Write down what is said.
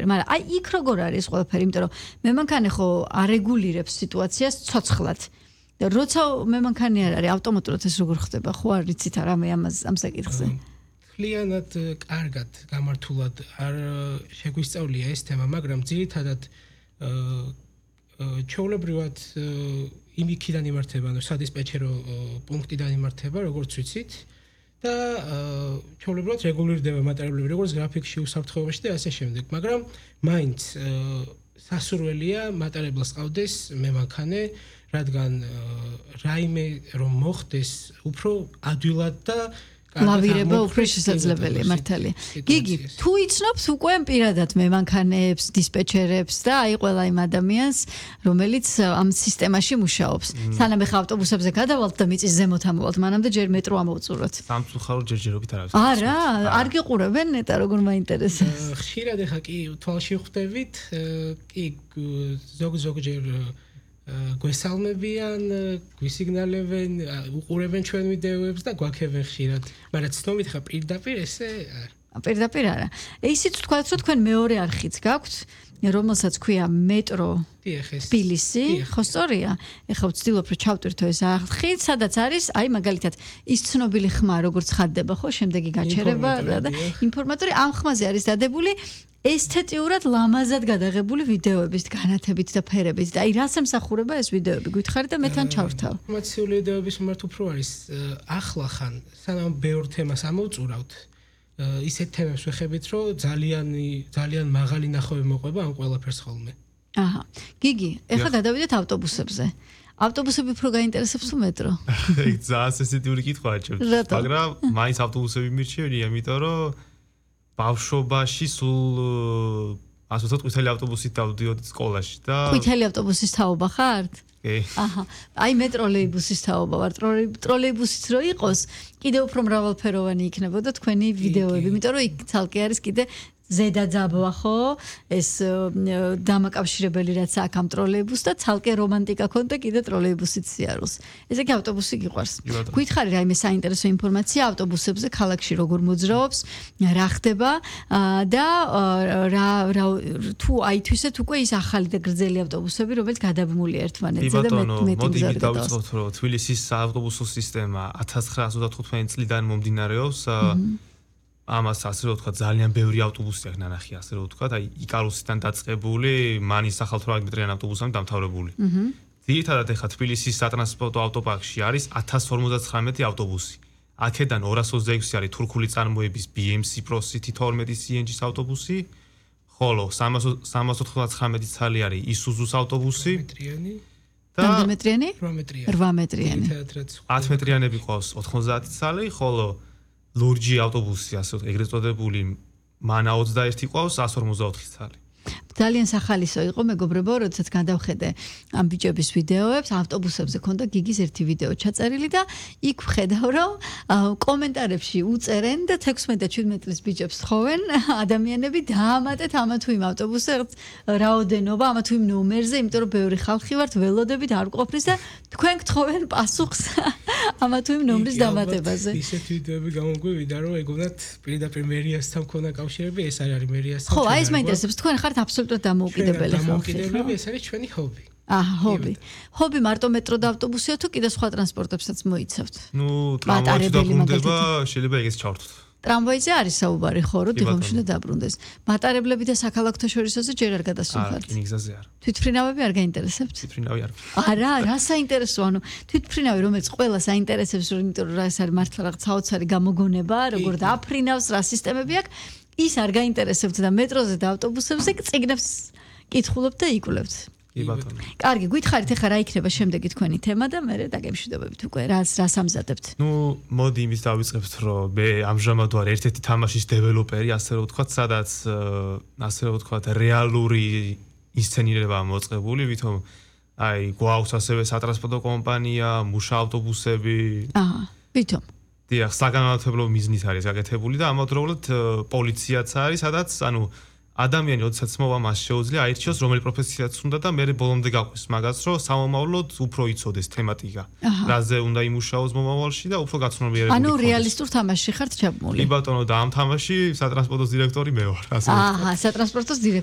ყველაფერი, მაგრამ აი იქ როგორ არის ყველაფერი, იმიტომ რომ მე მანქანე ხო არეგულირებს სიტუაციას ცოცხლად. და როცა მე მანქანე არ არის ავტომატურად ეს როგორ ხდება, ხო არ ვიცით რამე ამ საკითხზე. მთლიანად კარგად გამართულად არ შეგვისწავლია ეს თემა, მაგრამ ძირითადად ჩვეულებრივად იმიქიდან იმართება, ანუ სადისპეჩერო პუნქტიდან იმართება, როგორც ვიცით და ჩვეულებრივად რეგულირდება მატარებლები, როგორც გრაფიკში, უსაფრთხოებაში და ასე შემდეგ, მაგრამ მაინც სასურველია მატარებელს ყავდეს მემანქანე, რადგან რაიმე რომ მოხდეს, უფრო ადვილად და ლავირება უფრო შესაძლებელია მართალია. გიგი, თუ იცნობთ უკვე პირადად მემანქანეებს, დისპეჩერებს და აი ყველა იმ ადამიანს, რომელიც ამ სისტემაში მუშაობს. სანამ ეხა ავტობუსებზე გადავალთ და მიწის ზემოთ ამოვალთ, მანამდე ჯერ მეტრო ამოვწუროთ. სამწუხაროდ ჯერჯერობით არ არის. არა, არ გიყურებენ ნეტა როგორ მაინტერესებს. ხშირად ეხა კი თვალში ხვდებით, კი ზოგჯერ გვესალმებიან, გვისიგნალებენ, უყურებენ ჩვენ ვიდეოებს და გვაქებენ ხშირად. მაგრამ ცნობით ხა პირდაპირ ესე არ. პირდაპირ არა. ისიც ვთქვათ, რომ თქვენ მეორე არხიც გაქვთ, რომელსაც ქვია მეტრო თბილისი, ხო სწორია? ეხლა ვცდილობ რომ ჩავტვირთო ეს არხი, სადაც არის, აი მაგალითად, ის ცნობილი ხმა, როგორც ხადდება, ხო, შემდეგი გაჩერება და ინფორმატორი ამ ხმაზე არის დადებული ესთეტიურად ლამაზად გადაღებული ვიდეოებით, განათებით და ფერებით და აი რას ემსახურება ეს ვიდეოები? გითხარით და მე თან ჩავრთავ. ინფორმაციული ვიდეოების მიმართ უფრო არის ახლა ხან, სანამ ბევრ თემას ამოვწურავთ, ისეთ თემებს ვეხებით, რომ ძალიან მაღალი ნახვები მოყვება ამ ყველაფერს ხოლმე. აჰა. გიგი, ეხლა გადავიდეთ ავტობუსებზე. ავტობუსები უფრო გაინტერესებს თუ მეტრო? ეგ ძალიან სენსიტიური კითხვაა ჩემთვის. მაგრამ მაინც ავტობუსები მირჩევია, იმიტომ რომ ბავშვობაში სულ ასე ვთქვათ, ყვითელი ავტობუსით დავდიოდი სკოლაში და ყვითელი ავტობუსის თაობა ხართ? კი. აჰა. აი მე ტროლეიბუსის თაობა ვარ. ტროლეიბუსიც რო იყოს, კიდე უფრო მრავალფეროვანი იქნებოდა თქვენი ვიდეოები, იმიტომ რომ იქ ცალკე არის კიდე ზედა ძაბვა ხო? ეს დამაკავშირებელი რაც აქვს ამ ტროლეიბუსს და ცალკე რომანტიკა ქონდა კიდე ტროლეიბუსით სიარულს. ესე იგი ავტობუსი გიყვარს. გითხარი რაიმე საინტერესო ინფორმაცია ავტობუსებზე ქალაქში როგორ მოძრაობს, რა ხდება და თუ აი თვისეთ უკვე ის ახალი და გრძელი ავტობუსები, რომელიც გადაბმულია ერთმანეთზე და მოდი დავიწყოთ რომ თბილისის ავტობუსო სისტემა 1935 წლიდან მომდინარეობს. ამას ასე რომ ვთქვა ძალიან ბევრი ავტობუსი აქვს ნანახი ასე რომ ვთქვა, აი იკარუსიდან დაწყებული, მანის ახალთვრაგმეტრიან ავტობუსამდე დამთავრებული. ძირითადად ეხა თბილისის სატრანსპორტო ავტოპარკში არის 1059 ავტობუსი. აქედან 226 არის თურქული წარმოების BMC Pro City 12 CNG-ის ავტობუსი, ხოლო 399 ცალი არის Isuzu-ს ავტობუსი. და მეტრიანი? 8 მეტრიანი. 10 მეტრიანები ყავს 90 ცალი, ხოლო ლურჯი ავტობუსი ასე ვთქვათ, ეგრეთ წოდებული მანა 21 ყავს 154 ცალი. ძალიან სახალისო იყო მეგობრებო, როდესაც გადავხედე ამ ბიჭების ვიდეოებს, ავტობუსებზე ქონდა გიგის ერთი ვიდეო ჩაწერილი და იქ ვხედავ, რომ კომენტარებში უწერენ და 16 და 17 წლის ბიჭებს თხოვენ ადამიანები დაამატეთ ამა თუ იმ ავტობუსებს რაოდენობა, ამა თუ იმ ნომერზე, იმიტომ რომ ბევრი ხალხი ვართ, ველოდებით არ ყოფნის და თქვენ გთხოვენ პასუხს ამა თუ იმ ნომრის დამატებაზე. ისეთ ვიდეოები გამოგვივიდა, რომ ეგონათ პირდაპირ მერიასთან მქონდა კავშირები, ეს არ არის მერიასთან. ხო, აი ეს მაინტერესებს, თქვენ ხართ აბსოლუტურად დამოუკიდებელი ხალხი. დამოუკიდებლები ეს არის ჩვენი ჰობი. აჰა, ჰობი. ჰობი მარტო მეტრო და ავტობუსია თუ კიდე სხვა ტრანსპორტებსაც მოიცავთ? ნუ ტრამვაიში დაბრუნდება, შეიძლება ეგეც ჩავთვლოთ. ტრამვაიზე არის საუბარი ხო, რომ დილომში და დაბრუნდეს. მატარებლები და საქალაქო შორისოზე ჯერ არ გადასულხართ. რკინიგზაზე არა. თვითმფრინავები არ გაინტერესებთ? თვითმფრინავი არ. არა, რა საინტერესო, ანუ თვითმფრინავი რომელიც ყველას აინტერესებს, იმიტომ რომ ეს არის მართლა რაღაც საოცარი გამოგონება, როგორ დააფრინავს, რა სისტემები აქვს, ის არ გაინტერესებთ და მეტროზე და ავტობუსებზე წიგნებს კითხულობთ და იკვლევთ. კი ბატონო. კარგი, გითხარით ახლა რა იქნება შემდეგი თქვენი თემა და მე დაგემშვიდობებით უკვე რას ამზადებთ. ნუ მოდი იმის დავიწყებთ, რომ მე ამჟამად ვარ ერთ-ერთი თამაშის დეველოპერი, ასე რომ ვთქვათ, სადაც ასე რომ ვთქვათ, რეალური ინსცენირება მოწყებული, ვითომ აი გვაქვს ასევე სატრანსპორტო კომპანია, მუშა ავტობუსები. აჰა, ვითომ დიახ, საგანმანათლებლო მიზნით არის გაკეთებული და ამავდროულად პოლიციაც არის, სადაც ანუ ადამიანი როდესაც მოვა მას შეუძლია აირჩიოს რომელი პროფესიაც უნდა და მე ბოლომდე გავყვის მაგას, რომ სამომავლოდ უფრო იცოდეს თემატიკა. რაზე უნდა იმუშაოს მომავალში და უფრო გაცნობიერებული. ანუ რეალისტურ თამაშში ხართ ჩაბმული. კი ბატონო, და ამ თამაში სატრანსპორტოს დირექტორი მე ვარ, ასე. აჰა, სატრანსპორტოს დირექტორი.